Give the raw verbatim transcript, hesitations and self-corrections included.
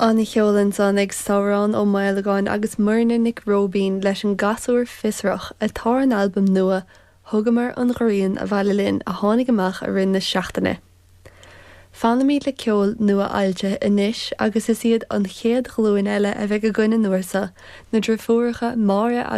An-cheol ansan ag Sabhrán Ó Maolagáin agus Muirne Nic Róibín leis an gasúr fiosrach atá ar an albam nua Thugamar an Ghrian Abhaile Linn a tháinig amach i rith na seachtaine. Fanfaimid le ceol nua-fhoilsithe anois agus is iad an chéad ghlúin eile a bheidh againn an uair seo na deirfiúracha Máire agus